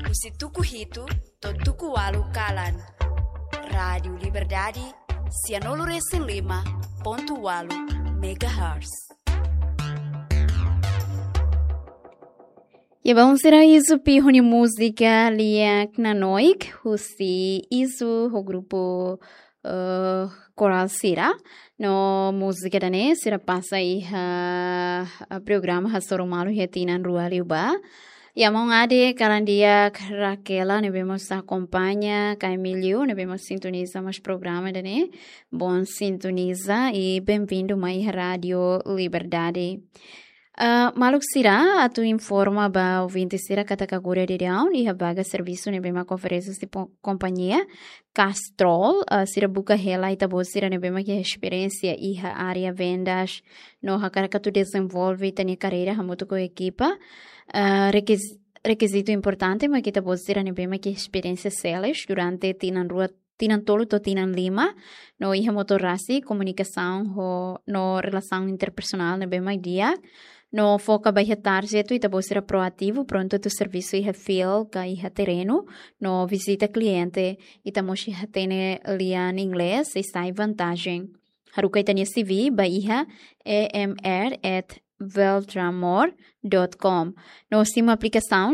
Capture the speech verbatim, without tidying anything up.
husi tuku hitu to'o tuku ualu kalan. Rádiu Liberdade, sianulu resin lima pontu ualu megahertz. Ya, bom, sira, Izu Pihu nia múzika Liak Nanoik, husi Izu ho grupu, eh, korál sira. No múzika ida-ne'e sira pasa iha, eh, programa Hasoru Malu iha tinan rua liubá. Ya, maun Ade, kalan di'ak Raquela ne'ebé mós akompaña, ka Emílio ne'ebé mós sintoniza mós programa ida-ne'e. Bom sintoniza i bem-vindo mai iha Rádiu Liberdade. Ah, maluk sira, atu informa ba ouvinte sira katak agora daudaun iha vaga servisu ne'ebé mak oferese husi po-, kompañia Castrol, ah, sira buka hela ita-boot sira ne'ebé mak iha esperiénsia iha área vendas, no hakarak atu dezenvolve ita-nia karreira hamutuk ho ekipa. Ah, rekiz-, rekizitu importante mak ita-boot sira ne'ebé mak iha esperiénsia sales durante tinan rua, tinan tolu to'o tinan lima, no iha motor rasik, komunikasaun ho, no relasaun interpesoál ne'ebé mak di'ak, no foka ba iha target atu ita-boot sira proativu, prontu atu servisu iha field ka iha terrenu, no vizita kliente. Ita mós iha hatene lian inglés, i sai vantajen. Haruka ita-nia C V ba iha E M R at veltramor dot com. No simu aplikasaun